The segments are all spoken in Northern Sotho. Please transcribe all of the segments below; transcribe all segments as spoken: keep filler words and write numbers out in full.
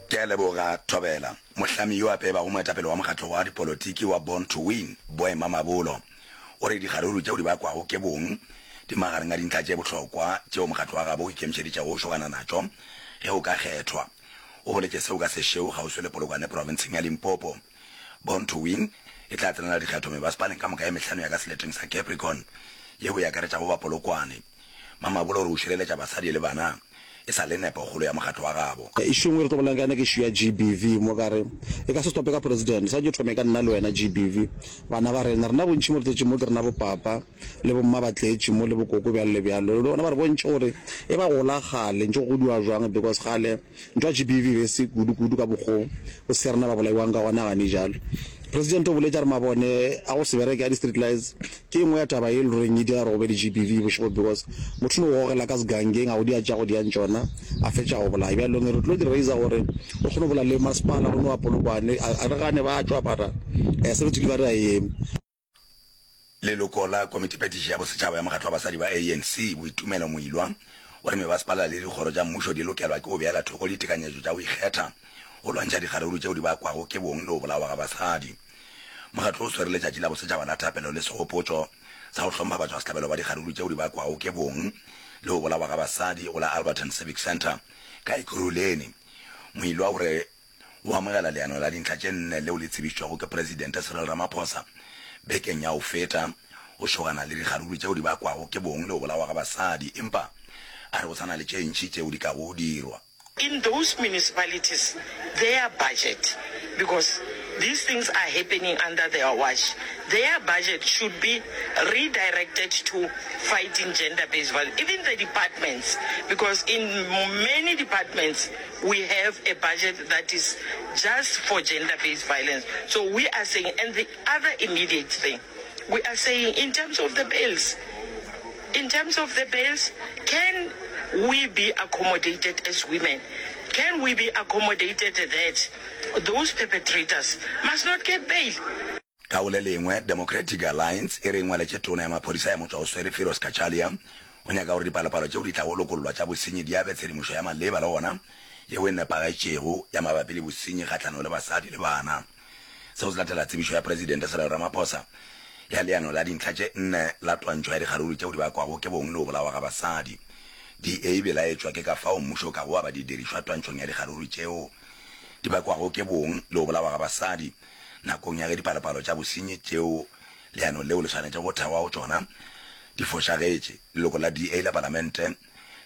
Ke a leboga, Thobela. Mohlami yo a peebago moetapele wa mokgatlo wa dipolotiki wa Born to Win, Boy Mamabolo, o re dikgaruru tšeo di bakwago ke bong di magareng a dintlha tše bohlokwa tšeo mokgatlo wa gabo o ikemišeditšego go šogana natšo ge o ka kgethwa. O boletše seo ka sešeo kgauswi le Polokwane profenseng ya Limpopo. Born to Win e tla tsenela dikgetho mebasepaleng ka moka ye mehlano ya ka seleteng sa Capricorn, yeo e akaretšago ba Polokwane. Mamabolo o re o šireletša basadi le bana e sa le nepo kgolo ya mokgatlo wa gabo. Issue engwe re tlo bolelang ka yona ke issue ya G B V mo ka re e ka se stope ka president, swantše e thome ka nna le wena G B V, bana ba rena. Rena bontši mo re tletše mo ke rena bo papa le bo mma ba tletše mo le bo koko bjalo le bjalo. Le bona ba re bontšhe gore e ba gola kgale ntše go godiwa jwang because kgale ntwa G B V e be e se kudu kudu ka mokgo bo se rena ba bolaiwang ka gona gane jalo. President o boletše a re mabone a go se bereke a di street lights ke e nngwe ya taba ye e le goreng e dira gore go be le G B V bošego because motho no go gogela ka segangeng a go dia tša go diang tšona a fetša go bolaya. Bjalong re tlo di raiser gore re kgone go bolela le masepala go no wa Polokwane a re gane ba tšwa mara service delivery a e eme. Leloko la Komitiphethiši ya Bosetšhaba ya Mokgatlo wa Basadi ba A N C, Boitumelo Moilwa, o re mebasepala le dikgoro tša mmušo di lokelwa ke go beela thoko ditekanyetšo tša go ikgetha go lwantšha dikgaruru tšeo di bakwago ke bong le go bolawa ga basadi. Mokgatlo o swere letšatši la bosetšhaba la thapelo le segopotšo sa go hlompha batšwasehlabelo ba dikgaruru tšeo di bakwago ke bong le go bolawa ga basadi go la Alberton Civic Centre ka Ekurhuleni. Moilwa o re o amogela leano la dintlha tše nne leo le tsebišitšwego ke Presidente Cyril Ramaphosa bekeng ya go feta go šogana le dikgaruru tšeo di bakwago ke bong le go bolawa ga basadi, empa a re go sa na le tše ntši tšeo di kago dirwa. In those municipalities their budget, because these things are happening under their watch, their budget should be redirected to fighting gender-based violence, even the departments, because in many departments we have a budget that is just for gender-based violence. So we are saying, and the other immediate thing, we are saying in terms of the bills, in terms of the bills, can we be accommodated as women? Can we be accommodated that those perpetrators must not get bail? Ka go le lengwe, Democratic Alliance e re e ngwaletše Tona ya Maphodisa ya Motšwaoswere Firoz Cachalia go nyaka gore dipalopalo tšeo di tlago lokollwa tša bosenyi di abe tshedimošo ya maleba le gona yeo e nepagetšego ya mabapi le bosenyi kgahlanong le basadi le bana. Seo se latela tsebišo ya Presidente Cyril Ramaphosa ya leano la dintlha tše nne la twantšho ya dikgaruru tšeo di bakwago ke bong le go bolawa ga basadi. D A e belaetšwa ke ka fao mmušo o kago aba didirišwa twantšhong ya dikgaruru tšeo di bakwago ke bong le go bolawa ga basadi nakong ya ge dipalopalo tša bosenyi tšeo leano leo le swanetšego go thewa go tšona di fošagetše. Leloko la D A la Palamente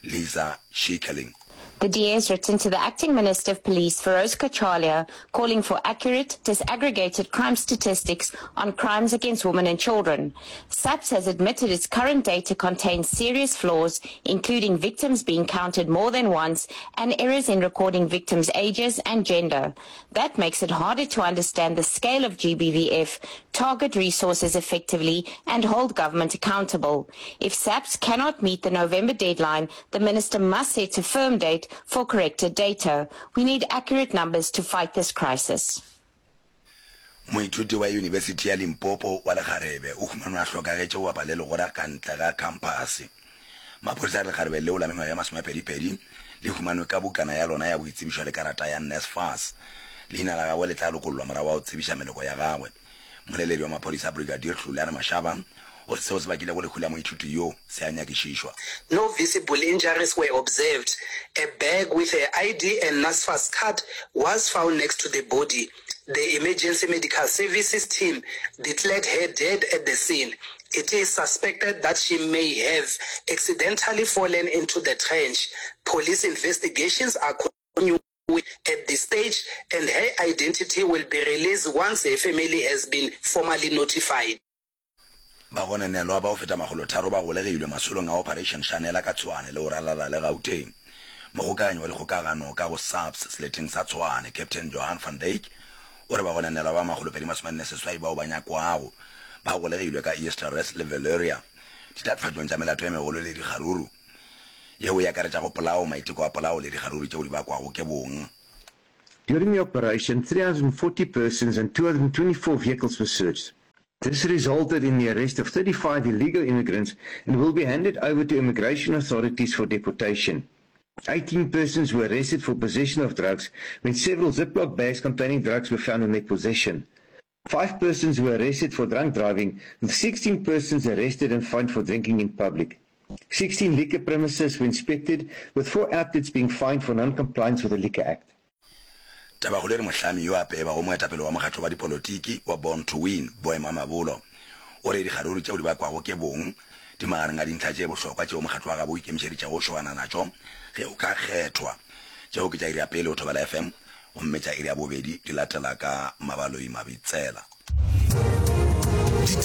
Lisa Schickerling. The D A has written to the acting Minister of Police, Firoz Cachalia, calling for accurate, disaggregated crime statistics on crimes against women and children. SAPS has admitted its current data contains serious flaws, including victims being counted more than once and errors in recording victims' ages and gender. That makes it harder to understand the scale of G B V F, target resources effectively and hold government accountable. If SAPS cannot meet the November deadline, the minister must set a firm date for corrected data. We need accurate numbers to fight this crisis. Moithuti wa Yunibesithi ya Limpopo wa lekgarebe o humanwe a hlokagetše go bapa le legora ka ntle ga khamphase. Maphodisa a re lekgarebe leo la mengwaga ye masomepedipedi le humanwe ka bukana ya lona ya boitsebišo le karata ya NSFAS. Leina la gagwe le tla lokollwa morago ga go tsebiša meloko ya gagwe. Mmoleledi wa maphodisa Brigadier Hlulani Mashaba o re seo se bakilego lehu la moithuti yo se a nyakišišwa. No visible injuries were observed. A bag with her I D and NSFAS card was found next to the body. The emergency medical services team declared her dead at the scene. It is suspected that she may have accidentally fallen into the trench. Police investigations are continuing at this stage and her identity will be released once her family has been formally notified. Bagononelwa ba go feta makgolotharo ba golegilwe masolong a Operation Shanela ka Tshwane le go ralala le Gauteng. Mogokaganyi wa dikgokagano ka go SAPS seleteng sa Tshwane, Captain Johan van Dyk, o re bagononelwa ba makgolopedi masomenne seswai bao ba nyakwago ba golegilwe ka Eersterust le Villieria ditatofatšong tša melato e megolo le dikgaruru yeo e akaretšago polao, maiteko a polao le dikgaruru tšeo di bakwago ke bong. During the operation, three hundred forty persons and two hundred twenty-four vehicles were searched. This resulted in the arrest of thirty-five illegal immigrants and will be handed over to immigration authorities for deportation. Eighteen persons were arrested for possession of drugs when several Ziploc bags containing drugs were found in their possession. Five persons were arrested for drunk driving, with sixteen persons arrested and fined for drinking in public. Sixteen liquor premises were inspected, with four outlets being fined for non-compliance with the Liquor Act. Tabakgolo e re mohlami yo a peebago moetapele wa mokgatlo wa dipolotiki wa Born to Win, Boy Mamabolo, o re dikgaruru tšeo di bakwago ke bong di magareng a dintlha tše bohlokwa tšeo mokgatlo wa gabo o ikemišeditšego go šogana natšo ge o ka kgethwa. Tšeo ke tša iri ya pele go Thobela F M gomme tša iri ya bobedi di latela ka Mabaloi Mabitsela.